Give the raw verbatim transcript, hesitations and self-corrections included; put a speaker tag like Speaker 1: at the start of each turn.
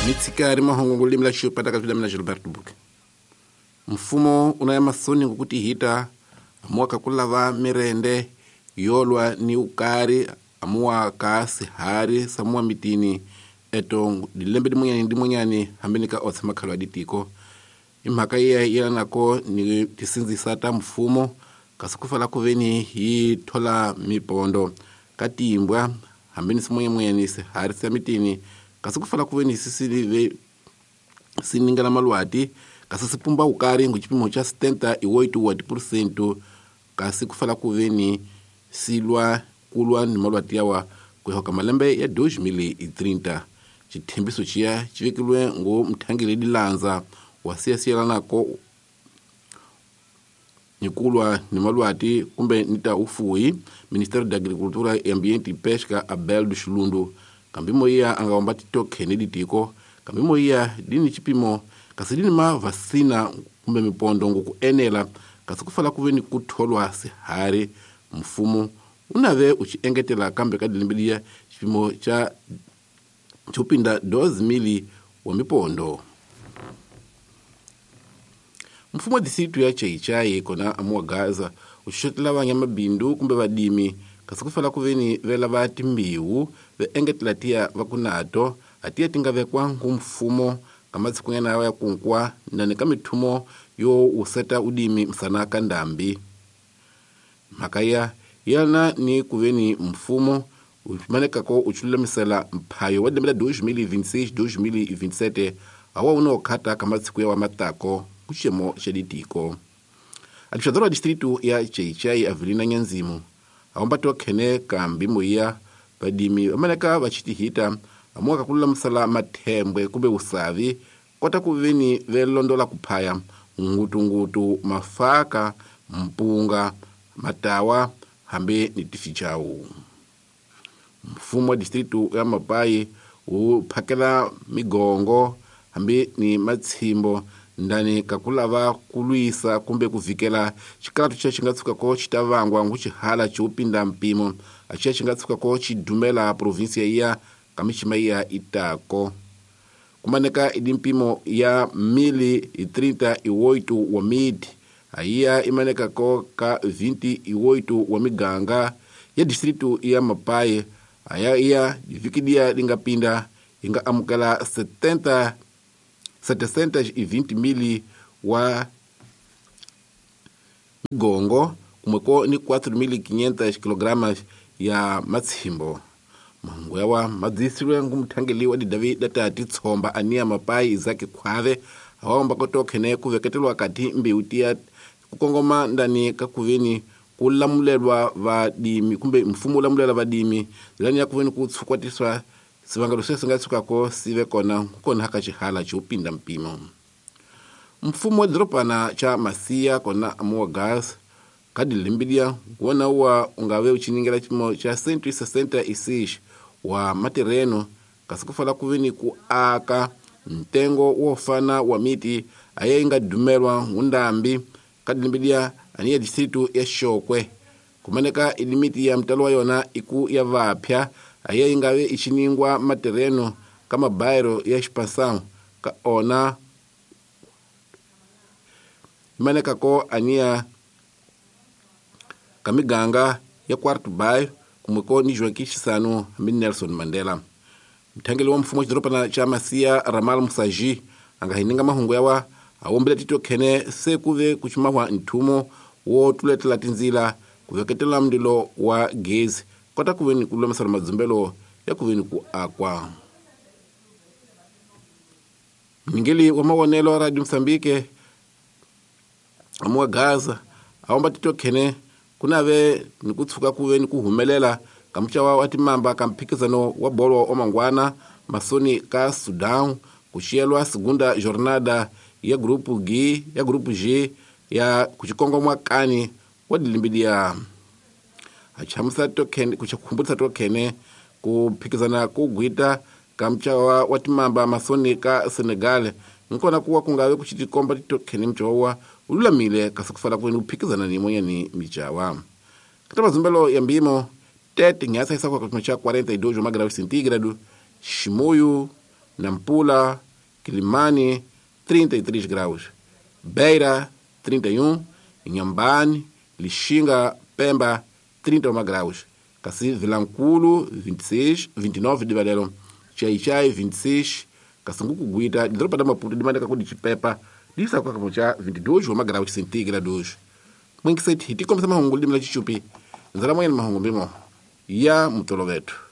Speaker 1: Mitsikari mahungu limi la xipata ka mina Gilberto Buke. Mfumo una masoni ngokuti hita amuwa ku lava mirende yolwa ni ukari amuwa ka sihari samuwa mitini eto dilembe dimunyani dimunyani hambeni ka otsa makhalo ya ditiko imhaka iya yelanako ni tisindzisa ta mfumo kasi ku fala ku veni hi thola mipondo ka timbwa hambeni simunyemunyani sihari sa mitini kasi ku fala ku veni sisilive siningela malwati kasi sipumba ukari ngu chipimo cha setenta e oito por cento kasi ku fala ku veni silwa kulwa ni malwati yawa kuhoka malembe ya dois mil e trinta. Chithembiso chiya chivekilwe ngo mthangeli dilanza wa siyasiyelanako ni kulwa ni malwati kumbe nita ufuyi Ministério da Agricultura e Ambiente e Pesca Abel do Chilundu kambimo iya angawamba titoke ni ditiko kambimo iya dini chipimo kasi dini ma vacina kumbe mipondo ngoku enela kasi kufala kuveni kutholwa sihari mfumo unave uchiengetela kambe ka dilimbilia chipimo cha chupinda dois mil wa mipondo. Mfumo wa disitu ya Chaichai kona amuwa Gaza uxotela vanyamabindu kumbe vadimi kasi kufala kuveni vela va timbiwu ve engetela tiya va kunato atiya tinga vekwa ngu mfumo ka matsikunyana ya kunkwa nani ka mithumo yo useta udimi msana ka ndambi. Mhaka ya yana ni kuveni mfumo umanekako uchulamisela mphayo wa lembe la dois mil e vinte e seis dois mil e vinte e sete awa unokhata ka matsiku ya wa matako kuxemo xa ditiko. Administrador wa distrito ya Chaichai Avelina Nyanzimu awambatiwa khene ka mbimo ya vadimi vamaneka va chitihita amuwa ka ku lulamisela mathembwe kumbe usavi kota ku veni ve londola ku phaya ngutungutu mafaka mpunga matawa hambi ni tifichawu. Mfumo wa distrito ya Mapai wu phakela migongo hambi ni matshimbo ndani ka ku lava ku lwisa kumbe ku vikela xikaratu xa xi nga tshukako xi ta vangwa ngu xihala xo pinda mpimo a xi xi nga tshukako xi dumela provinsia ya ka mixima ya itako. Kumaneka i mpimo ya mil e trinta e oito wa miti ayiya imanekako ka vinte e oito wa miganga ya distrito ya Mapai aya iya divikidia linga pinda inga amukela setenta setecentos e vinte mil wa migongo kumweko ni quatro mil e quinhentos kilogramas ya matshimbo. Mahungu yawa madzisirwe ngu mthangeli wa didavi data titshomba ania Mapai Isaac Khwave awamba kotokhene ku veketelwa kati mbewu tiya ku kongoma ndani ka kuveni ku lamulelwa vadimi kumbe mfumo lamulela vadimi lani ya kuveni ku tshukwatiswa sivangelo se nga tshukako sive kona kona haka xihala xo pinda mpimo. Mfumo wa dropana cha Masia kona amuwa gas ka dilimbilia wona wa ungave uchiningela chimo cha cento e sessenta e seis wa matereno kasi kufala kuveni ku aka ntengo wo fana wa miti aye inga dumelwa ngundambi ka dilimbilia ani ya distrito ya Xokwe kumaneka ilimiti ya mtalo wa yona iku ya vapya aye ingawe ichiningwa matereno kama bairo ya expansão ka ona imaneka ko ania kamiganga ya quarto bairro kumweko ni Joaquim Chissano hambi Nelson Mandela. Mthangeli wa mfumo wa xidorobana xa Masia Ramal Musaji anga hininga mahungu yawa awombela tito khene se kuve kuchimahwa nthumo wo tuletela tindzila ku veketela mlilo wa gezi kota kuveni ku lulamisela madzumbelo ya kuveni ku akwa. Mingeli wa mawonelo wa Radio Mozambique amuwa Gaza awomba tito khene kunave ni ku tshuka kuveni ku humelela ka muxawa wa timamba ka mphikizano wa bolo wa mangwana masoni ka Sudan ku xiyelwa segunda jornada ya grupo G ya grupo G ya kuchikongomwa kani wa dilimbilia achamusa token kuchakumbutsa token ku phikizana ku gwita ka muxawa wa timamba masoni ka Senegal nkona kuwa kungawe kuchitikomba token mchowa ululamile kasi kufala kweni kuphikizana ni monyani mijawa. Kata mazumbelo ya mbimo tete ngasa isa kwa kipimo cha quarenta e dois graus centígrado Chimoio, Nampula, Quilimane, trinta e três graus, Beira, trinta e um, Inhambane, Lixinga, Pemba, trinta e um graus, kasi Vilankulo, vinte e seis, vinte e nove de Valero, Xai-Xai, vinte e seis, Kasunguku Guita, Dropa da Maputo, de Mandaca de Chipepa, Lisa Kwakamocha, vinte e dois graus centígrados. Mwingiseti, hiti komisa mahungu limla chichupi, nzala mwenye mahungu mbimo, ya mutolo wetu.